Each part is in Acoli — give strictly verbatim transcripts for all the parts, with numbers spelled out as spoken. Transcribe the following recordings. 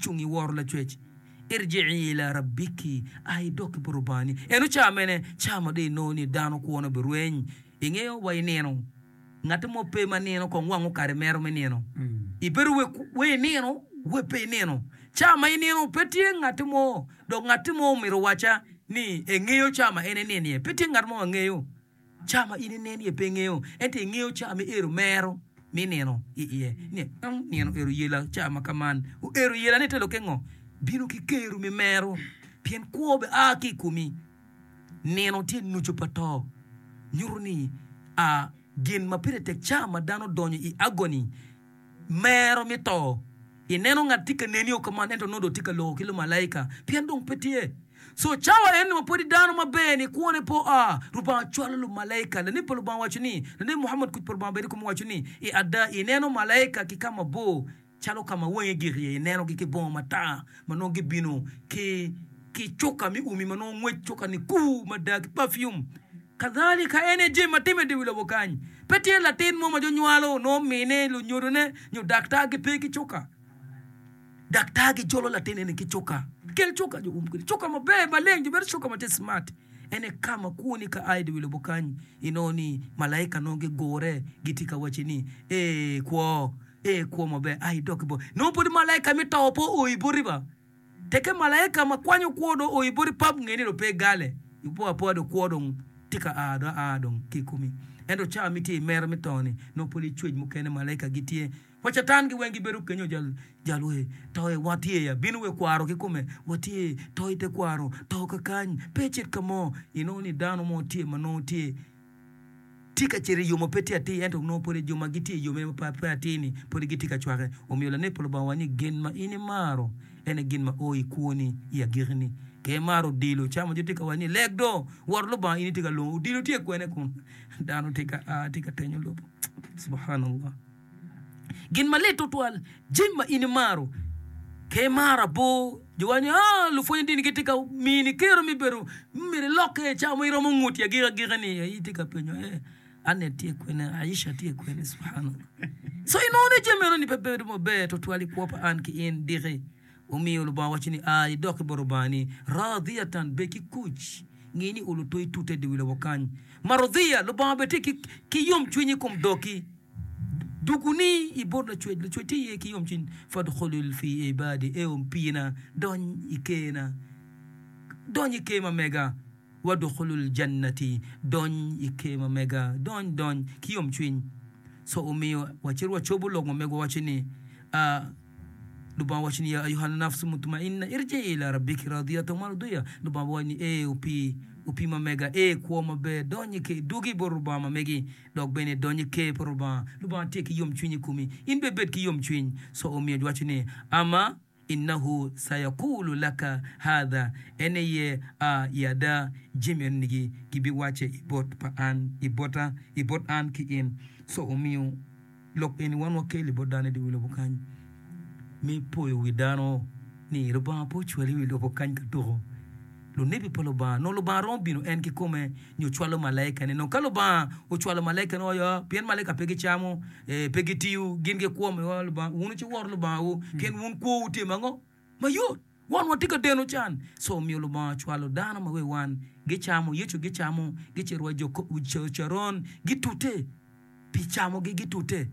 cung i woro lacwec. Irji'i ila rabbiki, a idok ki bot Lubangani. Eno ca mene? Ca ma dong inongo ni dano kwone obirweny. Ingeyo wa i nino, ngatti mo pe ma nino kong wang okare mero me nino. Ibedo wek we inino, we pe inino. Ca ma inino pe tye ngatti mo, dok ngatti mo omito owacca ni engeyo ca ma en enino iye. Pe tye ngat mo ma ngeyo. Ca ma in inen iye pe ingeyo, ento ingeyo ca ma iero mero me nino i iye. Ni, nino ero yela ca ma ka man. Oero yela ni te lokke ngo? Bino ki kero me mero, pien kwo be a ki i komi. Nino tye nucu pa to. Nyuto ni a gin ma pire tek ca ma dano donyo i agony, mero me to. Ineno ngat tye ka neni o kaman ento nongo dong tye ka loko ki lumalaika pien dong pe tye. So cawa eni ma pwodi dano maber ni kwone pe oa, Rubanga cwalo lumalaika. Lanebi pa Lubanga owaco ni, Lanebi Muhammad kuc pa Lubanga obed i kome owaco ni, I ada ineno malaika ki ka mabor calo ka ma wangi gik iye, inenogi ki bongo matar ma nongo gibino ki ki cuka me umi ma nongo ngwec cuka-ni kur mada ki perfume. Kadhalika en aye jami ma timme i dye wi lobo kany. Pe tye latin mo ma jo nywalo nongo mine, lunyodone, nyo daktar gipe ki cuka. Daktar gijolo latin eni ki cuka. Kel cuka jo um kwede. Cuka maber maleng jo bedo cuka ma tye smart. En aye ka ma kwoni ka a i dye wi lobo kany inongo ni malaika nongo gigure gitye ka wacci ni ee kwo, ee kwo maber a idok ki bot. Nongo pwod malaika me to pe oo i boti ba. Tekke malaika ma kwanyo kwo dong oo i boti pap nge ni dong pe igale, ipo apoa dong kwo dong tye ka a dong aa dong ki i komi. Ento cawa ma itye i mero me to-ni, nongo pwod icwec mukene malaika gitye. Wa Catan gi weng gibedo kenyo jal jal we to i watye ya bino we kwaro kikome watye to i te kwaro to kakany pe icit ka mo inongo ni dano mo tye ma nongo tye tye ka cito i yo ma pe tye atir ento nongo pwod jo ma gitye i yo ma pe atir-ni pwod gitye ka cwake. Omiyo lanebi pa Lubanga owaco ni, Gin ma in imaro en aye gin ma o i kwoni i agikini. Ka imaro odilo, ca ma jo tye ka waco ni, 'Leg do, wor Lubanga, in itye ka lwongo odilo tye kwene kun dano tye ka a tye ka tenyo lobo. Subhanallah. Gin malit tutwal, jami ma in imaro. Ka imaro abor, jo waco ni, 'Ah, lupwonye dini gitye ka mini kero me bedo myero ilokke cawa mo iromo ngut i agikki agikki-ni. Itye ka penyo, 'Eh, Annet tye kwene? Aisha tye kwene? Subhanallah. So inongo ni jami eno ni pe bedo maber tutwal i kwo pa an ki in diki. Omiyo Lubanga waco ni, 'A, idok ki bot Lubangani, radiyatan, bed ki kuc, ngi ni olo to itute i dye wi lobo kany. Marudhiya, Lubanga bene tye ki yomcwiny i kom doki. Duguni i bot Lacwec, Lacwec tye iye ki yomcwiny. Fadkhulul fi ibadi, Eo pina, dony i kerna, dony i ker ma mega. Wadkhulul jannati, dony i ker ma mega, dony, dony ki yomcwiny. So omiyo wacito wacobo lok ma megwa waco ni, A Lubanga waco ni, Ya ayuha nafsu mutmainna irji'i ila rabbiki radiyatan mardiya. Lubanga waco ni, Ee opii, opii ma mega, ee kwo maber, dony i ker, dwogi bot Lubanga ma megi. Dok bene idony i ker pa Lubanga. Lubanga tye ki yomcwiny i komi. In bene ibed ki yomcwiny. Co omiyo giwaco ni, Ama innahu sayakulu laka hadha, en aye a i ada jami eno-ni gibiwacce i bot pa an, i bota, i bot an ki in. Co omiyo lok eni wan wakelo i bot dano i dye wi lobo kany me poyo wi dano ni Lubanga pe ocwali i wi lobo kany ka tuko. Lunebi pa Lubanga. Nongo Lubanga romo bino en kikome nyo cwalo malaikane. Nongo ka Lubanga ocwalo malaikane oyo, pien malaika pe gicamo, pe gitiyo, gin gikwo miwa Lubanga, wun wuciwor Lubangawu, pien wun kwowu tye ma ngo? Mayot. Wan watye ka deno can. Co omiyo Lubanga ocwalo dano ma wi wan gicamo, Yecu gicamo, gicito wa i Caron, gitute. Pi camogi gitute.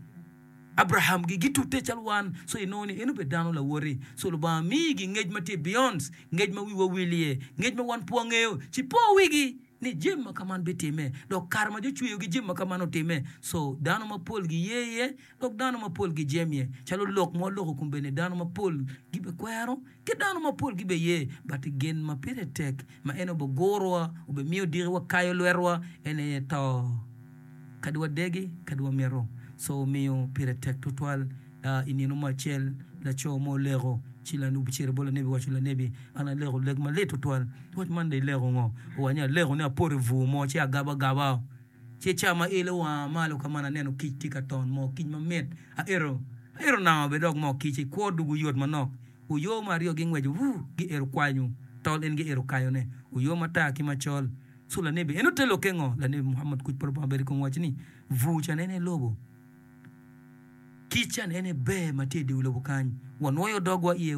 Abrahamgi gitute calo wan. So inongo ni en obedo dano lawoti. So Lubanga miyigi ngec ma tye beyond ngec ma wiwa wil iye, ngec ma wan pe wangeyo. Ci po wigi ni jami ma kaman bitimme. Dok kare ma jo cweyogi jami ma kaman otimme. So dano mapol giye iye dok dano mapol gijemye. Calo lok ma waloko kombeddi dano mapol gibikwero ki dano mapol gibiye. But gin ma pire tek ma en obigurowa, obimiyo diki wakayo lwetwa en aye to. Kadi wadegi, kadi wamito. Co omiyo pire tek tutwal. I nino mo acel, laco mo oleko, ci ocito bot lanebi owaco, Lanebi, an aleko lek malit tutwal. Wac man dong ileko ngo? Owaco ni, Aleko ni apoto i bur mo, ci agabo agaba. Ci ca ma ilo wanga malo ka man aneno kic tye ka ton moo kic mamit. Aito, aito nanga bene dok moo kic-ci, kwo dugu yot manok. Oyo mo aryo gingweco, wuu, giito kwanyo tol en giito kayone. Oyo matar ki macol. Co lanebi en ote lokke ngo? Lanebi Muhammad kuc pa Lubanga obed i kome owaco ni, Bur can en aye lobo, kic can en aye ber ma tye i dye wi lobo kany, wanwoyo dogwa iye.